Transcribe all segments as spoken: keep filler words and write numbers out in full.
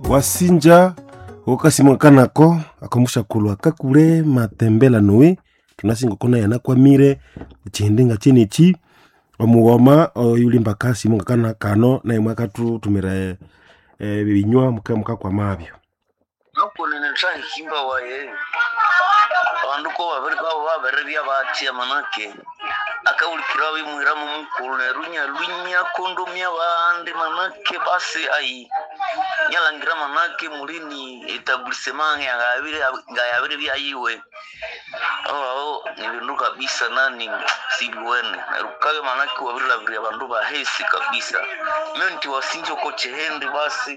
Wasinja gokasimo kanako akomushakulwa kakule matembela noe tunasinga kona yanakwamire chihindi nga chenichi omughoma oyulimba kasimo ngakana kano naye mwakathutumira ebinywa muka mukakwamabyo. Nokunene thahimba waye abandu ko babiri babo babiribya batya manake akawulikira bimwiramu mukulu neryo inyalunya kondomya bandi manake basi ayi nyalangira manake mulini etablissement ngayabiri ngayabiribya yiwe aho ni bindu kabisa nani sibiwene neryo kabe manake wabirilabirya abandu bahesi kabisa myo nti wasinja oko chihindi basi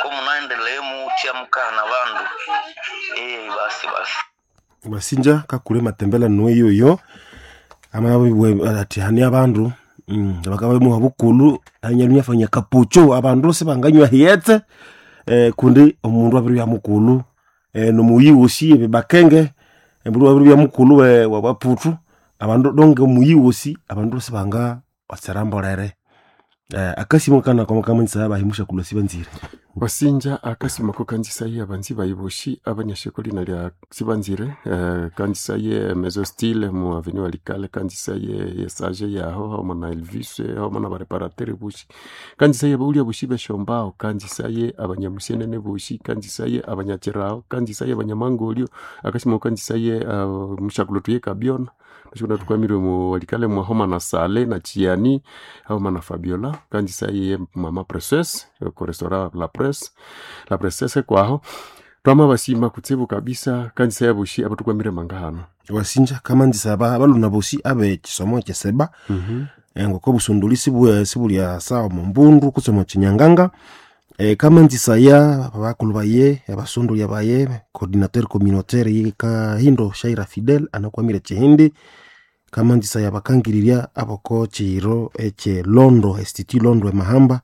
ko munaendelee mutya mukahana bandu eh basi basi. Wasinja kakule matembela noe yoyo amabwe ati hani abandu mm, bakabamuha bukulu anyalunya fanya kapucho abandu sibanganywa hiyetse eh, kundi omundu abiribya mukulu eh, nomuyi wosi ebibakenge embulu abiribya mukulu we wa baputu abandu donge omuyi wosi abandu sibanga otserambolere eh, akasimo kana koma kamanyisa abahimusha kulwa sibanzire. Wasinja akasimo ko kanzisaye abanzi bayiboshi abanyasheko lina lya sibanzire eh, kanzisaye mezo style mu avenue alikale kanzisaye yesage yaho hamo na Elvis hamo na bareparateur bushi kanzisaye baulya bushi beshombao kanzisaye abanyamusenene bushi kanzisaye abanyachirao kanzisaye abanyamangolio akasimo kanzisaye uh, mushakulo tuye kabiona nashikuna tukwamirwe mu walikale mwa homa na sale na chiani homa na Fabiola kanzisaye mama princesse ko restaurant la presse la princesse kwaho twama basima kutsibu kabisa kanzisa bushi abatukwamire mangahano. Wasinja kamanzisa aba abaluna bosi abe chisomo kyeseba mm -hmm. eh, ngoko busunduli sibu sibulya sawa mumbundu kusoma chinyanganga eh, kamanzisa ya abakulu baye abasunduli baye coordinateur communautaire ye kahindo Shaira Fidel anakwamire chihindi kamanzisa ya bakangirirya aboko chiro eche Londo Institut Londo emahamba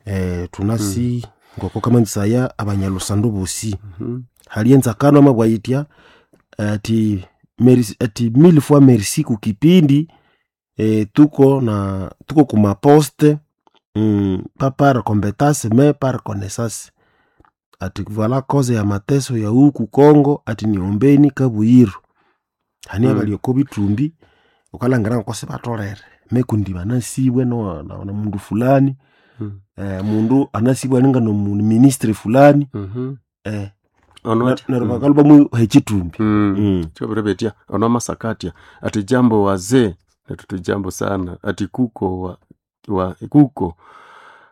eh, tunasi mm. ngoko kamanzisa ya abanyalusandu bosi mm -hmm. hali enzakano amabwayitya ati merci, ati mille fois merci kukipindi eh, tuko na tuko kumaposte mm, pas par compétence mais par connaissance ati voilà cause ya mateso ya huku Kongo ati niombeni kabuyiru hani Mm. abalioko bitumbi ukalangira ngoko sibatolere mekundi banasibwe no, na, na mundu fulani Mm. eh, mundu anasibwe aninga no mu- ministre fulani mm -hmm. eh, ono neryo bakaluba mu hechitumbi mm. mm. chobirebetia ono masakatia ati jambo wazee natutu jambo sana ati kuko wa, wa, kuko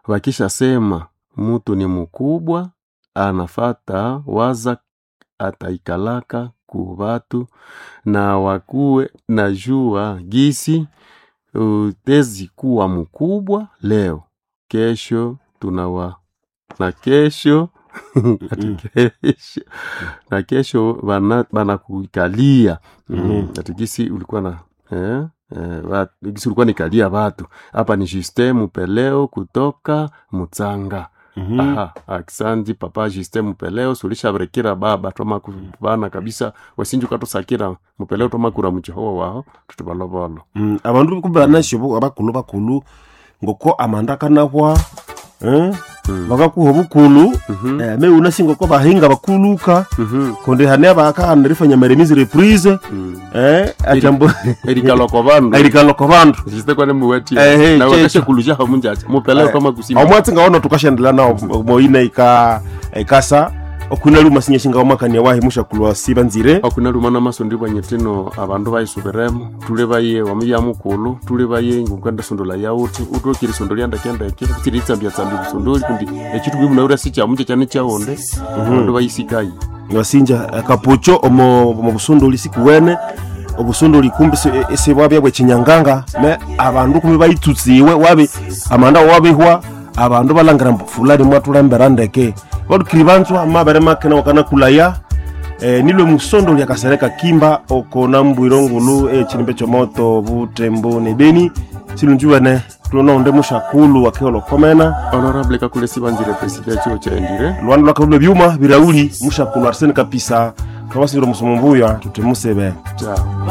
wakishasema mutu ni mkubwa anafata waza ataikalaka ku batu na wakuwe na jua gisi utezi kuwa mkubwa leo kesho tunawa na kesho ati Mm. kesho na kesho bana- banakuikalia mm. Mhm. ati gisi ulikuwa na eh, eh, ba- gisi ulikuwa nikalia batu hapa ni Justin Mupeleo kutoka Mutsanga. mm -hmm. Aha, aksanti papa Justin Mupeleo sulishabirekera baba twama kubana kabisa wasinji ukatusakira Mupeleo twamakura muchihowo waho tutubalobolo. mm. abandu kubanasyo abakulu bakulu ngoko amanda kanahwa eh? Mm. bakakuha obukulu Mhm, eh, me unasi ngoko bahinga bakuluka mhm, kundi hane abakahana erifanya remise reprise mm. eh, atyambo erikalwa bandu erikalwa bandu Justin kwane muwatia Ehe, na checho. wakashe kuluja hamunjacha Mupeleo Eh, twama kusima omwatsi ngawono tukashendela nawo moine ika ikasa okwina luma sinyeshinga omakania wahi mushakulwa sibanzire akunaluma namaso ndibwanyetino abandu bayisubiremo tule baye wamuya mukulu tule baye ngukanda sondola yauti utokire sondo lyandakendeke kutsiri itsambya tsambi busondoli kundi echitu bwimunaura sichamunja chane chaonde abandu bayisikayi wasinja akapucho omo omo busunduli sikuwene obusunduli kumbi sibwabya bwechinyanganga me abandu kumbi bayitsutsiwe wabi amanda wabihwa abandu balangira mbu fulani mwatulembera ndeke balukiri banzwa mabere makena wakana kulaya eh, nilwe musondoli akasereka kimba oko nambwiro ngulu echilimbe chomoto butembo ne beni silunjuwene tulononde mushakulu wakeolokomena honorable kakule sibanzire president chio chaendire lwanda lwakalulwe byuma birauli mushakulu arsene kapisa twabasindira omusomo mbuya tutemusebe chao.